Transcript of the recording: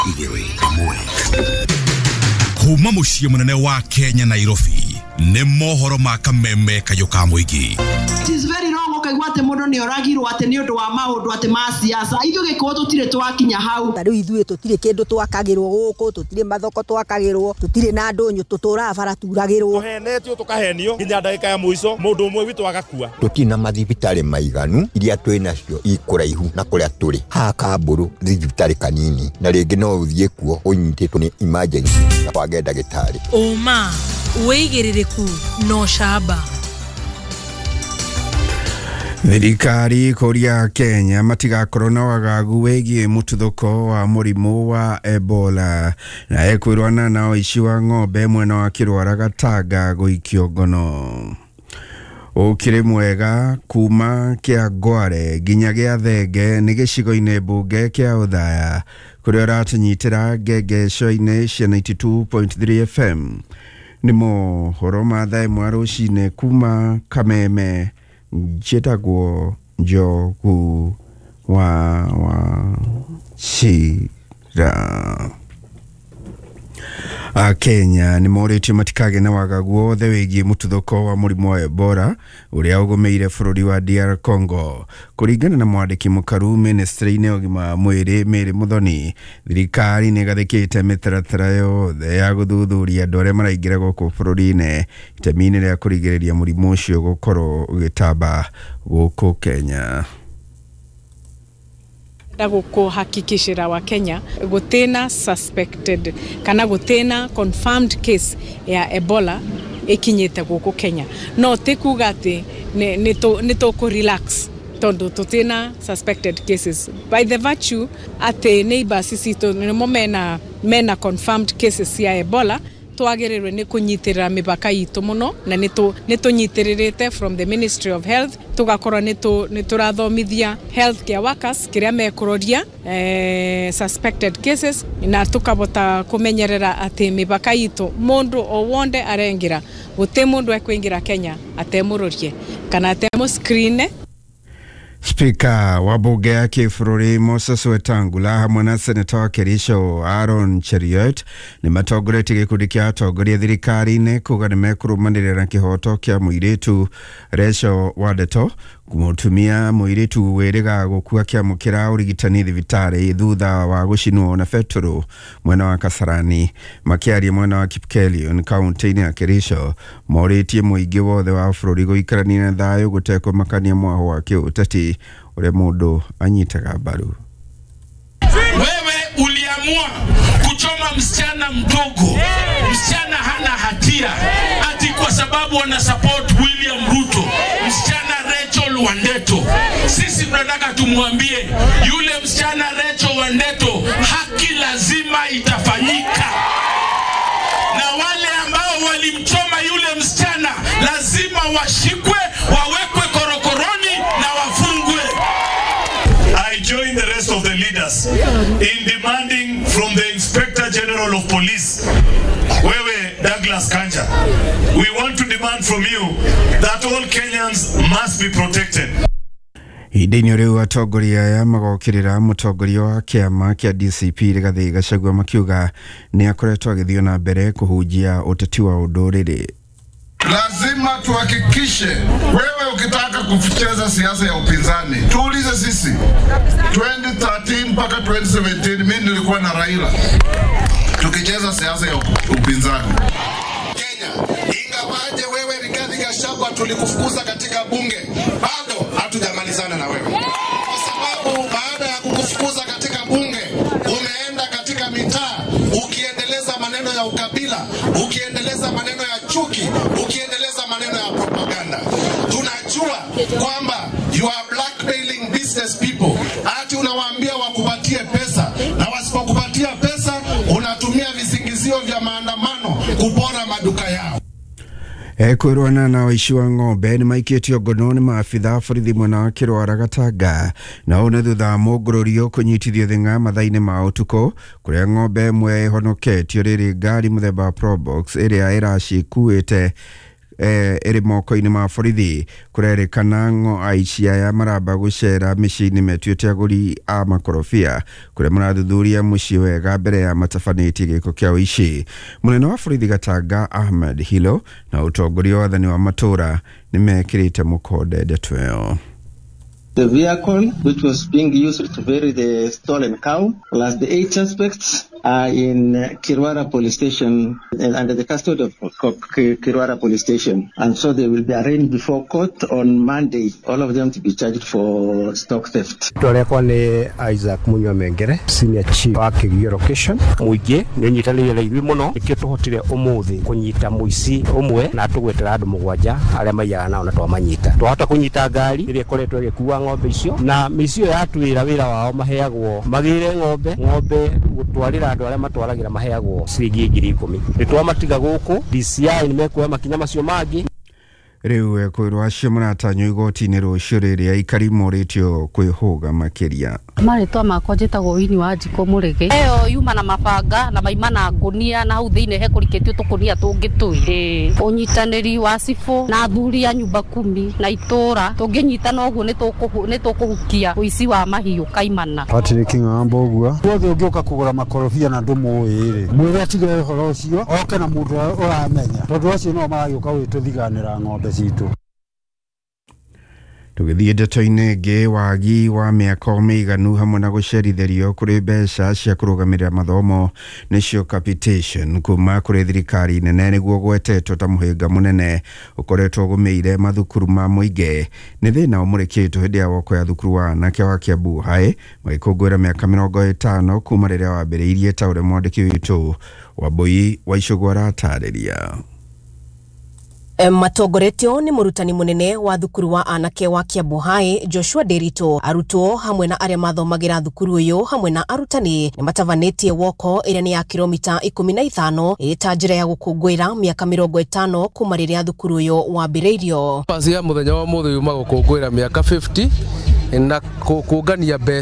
2 1. Kuma mũciĩ mũnene wa Kenya, Nairobi, nĩ mohoro ma kameme kayũ ka mũingĩ. It is very wrong ũkaigua atĩ mũndũ nĩ oragirwo atĩ nĩ ũndũ wa maũndũ atĩ ma siasa. Ithuĩ Gĩkũyũ tũtirĩ twakinya hau. Ta rĩu ithuĩ tũtirĩ kĩndũ twakagĩrwo gũkũ, tũtirĩ mathoko twakagĩrwo, tũtirĩ na ndũnyũ, tũtũraga bara turagĩrwo. Tũhenetio, tũkahenio nginya ndagĩka ya mũico, mũndũ ũmwe witũ agakua. Tũtirĩ na mathibitarĩ maiganu, iria twĩ nacio ikũraihu na kũrĩa tũrĩ. Haha Kambũrũ thibitarĩ kanini, na rĩngĩ no ũthiĩ kuo ũnyitĩtwo nĩ emergency na wage ndagĩtarĩ. Ũma, wĩigĩrĩrĩku na ũcamba. Thirikari kũria Kenya matigakorwo na wagagu wĩgiĩ mũtuthũko wa mũrimũ wa Ebola. Na ekwĩrwana na ũici wa ng'ombe mwena wa Kĩrwara Gatanga gũikio ngono. Ũkĩrĩ mwega kuma kĩa Ngware nginya gĩa Thenge nĩ gĩcigo-inĩ mbunge kĩa Ũthaya, kũrĩa ũratũnyitĩra ngengeco-inĩ cia 92.3 FM. Nĩ mohoro ma thaa 1 rũcinĩ kuma Kameme. Njĩtagwo Njogu wa Wachira. Akenya nĩ morĩtio matikagĩe na wagagu wothe wĩgiĩ mũtuthũko wa mũrimũ wa Ebola ũrĩa ũgũmĩire bũrũri wa DR Congo. Kũringana na mwandĩki mũkaru ministry-inĩ ya ũgima wa mwĩrĩ Mary Muthoni, thirikari nĩ ĩgathĩkĩte mĩtaratara yothe ya gũthuthuria andũ arĩa maraingĩra gũkũ bũrũri-inĩ itemi-inĩ rĩa kũrigĩrĩria mũrimũ ũcio gũkorwo ũgĩtamba gũkũ Kenya. Kuhakikishira wa Kenya gutena suspected kana gutena confirmed case ya Ebola ikinyite guku Kenya. No ti kuga ati ni tuku relax tondu tutina suspected cases, by the virtue ati neighbors citũ nĩmo mena confirmed cases ya Ebola. Twagĩrĩirwo nĩ kũnyitĩrĩra mĩbaka itũ mũno, na nĩ tũnyitĩrĩrĩte from the Ministry of Health, tũgakorwo nĩ tũrathomithia health care workers kĩrĩa mekũroria suspected cases, na tũkabota kũmenyerera atĩ mĩbaka itũ mũndũ o wonde arengĩra, gũtĩ mũndũ ekũingĩra Kenya atemũrorie kana atemũ screen. Spika wa bunge ya kĩbũrũri Moses Wetangula hamwe na seneta wa Kericho Aaron Cheruiyot nĩ matongoretie gĩkundi kĩa atongoria thirikari-inĩ kuga nĩ mekũrũmanĩrĩra na kĩhoto kĩa mũirĩtu Rachel Wandeto, mũtumia mũirĩtu wĩrĩga gũkua kĩamũkĩra ũrigitani thibitarĩ thutha wa gũcinwo na betũrũ mwena wa Kasarani. Makĩaria mwena wa Kipkelion kaunti-inĩ ya Kericho, morĩtie mũingĩ wothe wa bũrũri gũikarania na thayũ gũtekũmakania mwaho wa kĩũteti ũrĩa mũndũ anyitaga mbaru. Wewe uliamua kuchoma msichana mdogo, msichana hana hatia, ati kwa sababu wana support William Ruto, msichana Rachel Wandeto. Sisi tunataka tumwambie yule msichana Rachel Wandeto, haki lazima itafanyika, na wale ambao walimchoma yule msichana lazima washikwe, wawekwe korokoroni na wafungwe. I join the rest of the leaders in demanding from the Inspector General of Police, wewe Douglas Kanja, we want to demand from you that all Kenyans must be protected. Ihinda-inĩ rĩu atongoria aya magokĩrĩra mũtongoria wa kĩama kĩa DCP Rigathĩ Gachagua, makiuga nĩ akoretwo agĩthiĩ na mbere kũhunjia ũteti wa ũndũrĩrĩ. Lazima tuhakikishe wewe ukitaka kucheza siasa ya upinzani, tuulize sisi. 2013 mpaka 2017 mimi nilikuwa na Raila tukicheza siasa ya upinzani. Kenya, ingawaje wewe Rigathi Gachagua tulikufukuza katika bunge, bado hatujamalizana na wewe, kwa sababu baada ya kukufukuza katika bunge umeenda katika mitaa ukiendeleza maneno ya ukabila, ukiendeleza maneno ya chuki, ukiendeleza maneno ya propaganda. Tunajua kwamba you are blackmailing business people, ati unawaambia wakupatie pesa, na wasipokupatia pesa unatumia visingizio vya maandamano kupora maduka yao. Ekwĩrwana na ũici wa ng'ombe nĩ maikĩtio ngono nĩ maabitha a borithi mwena wa Kĩrwara Gatanga, na ũũ nĩ thutha wa mũngũrũrio kũnyitithio thing'a mathaa-inĩ ma ũtukũ, kũrĩa ng'ombe ĩmwe ĩhonoketio rĩrĩ ngari mũthemba wa Probox ĩrĩa ĩracikuĩte. Ĩrĩ moko-inĩ ma borithi. Kũrerĩkana ng'o aici aya maramba gũcera mĩciĩ-inĩ metuĩte agũri a makorobia, kũrĩa marathuthuria mũciĩ wega mbere ya matabanĩtie gĩko kĩa ũici. Mũnene wa borithi Gatanga Ahmed Hilo na ũtongoria wa wathani wa matũũra nĩ mekĩrĩte mũkonde ndeto ĩyo. The vehicle which was being used to bury the stolen cow plus the 8 suspects are in Kirwara police station under the custody of Kirwara police station. And so they will be arraigned before court on Monday, all of them to be charged for stock theft. Rĩtwa nĩ Isaac Munywa Mengere, senior chief wa Kĩgio location. Mũingĩ nĩ ũnyitanĩire na ithuĩ mũno, nĩkĩo tũhotire ũmũthĩ kũnyita mũici ũmwe na tũgwetera andũ 7 arĩa maiyaga nao na twamanyita. Twahota kũnyita ngari ĩrĩa ĩkoretwo ĩgĩkua ng'ombe icio, na mĩici ĩyo yatwĩra wĩra wao maheagwo magĩre ng'ombe gũtwarĩra andũ arĩa matwaragĩra maheagwo ciringi 10,000. Nĩ twamatiga gũkũ, DCI nĩ mekuoya makinya macio mangĩ. Rĩu ekwĩrwo acio maratanywo igoti-inĩ rũciũ rĩrĩa aikari morĩtio kwĩhũga makĩria. Marĩtwa makwa njĩtagwo Wini wa Njikũ Mũrĩgĩ. Ĩyo yuma na mabanga na maima na ngũnia, na hau thĩinĩ hekũrikĩtio tũkũnia tũngĩ twĩrĩ. Ũnyitanĩri wa cibũ na athuri a nyumba kumi na itũra tũngĩnyitana ũguo nĩ tũkũhukia ũici wa mahiũ kaimana. Patrick Ng'ambo ũguo wothe ũngĩũka kũgũra makorobia na ndũmũĩ rĩ, mwĩre atige ũhoro ũcio oke na mũndũ ũramenya, tondũ acio no maragĩũka gwĩtũthiganĩra ng'ombe citũ. Tũgĩthiĩ ndeto-inĩ ĩngĩ, wagi wa mĩako mĩiganu hamwe na gũcerithĩrio kũrĩ mbeca cia kũrũgamĩrĩra mathomo nĩcio capitation kuma kũrĩ thirikari nene nĩguo gwetetwo ta mũhĩnga mũnene ũkoretwo ũgũmĩire mathukuru ma mũingĩ. Nĩ thĩna ũmũrĩkĩtwo hĩndĩ ya woko ya thukuru wa anake wa Kiambu High magĩkũngũĩra mĩaka 50 kuma rĩrĩa wambĩrĩirie, ta ũrĩa mwandĩki witũ Wambui wa Icũgũ aratarĩria. Matongoretio nĩ mũrutani mũnene wa thukuru wa anake wa Kiambu High Joshua Nderitu, arutwo hamwe na arĩa mathomagĩra thukuru ũyũ hamwe na arutani nĩ matabanĩtie woko ĩrĩa nĩ ya kilomita 15 ĩrĩ ta njĩra ya gũkũngũĩra mĩaka 50 kuma rĩrĩa thukuru ũyũ wambĩrĩirio. Pasi ya mũthenya wa mũthĩ yuma gũkũngũĩra mĩaka 50 na kũngania mbeca.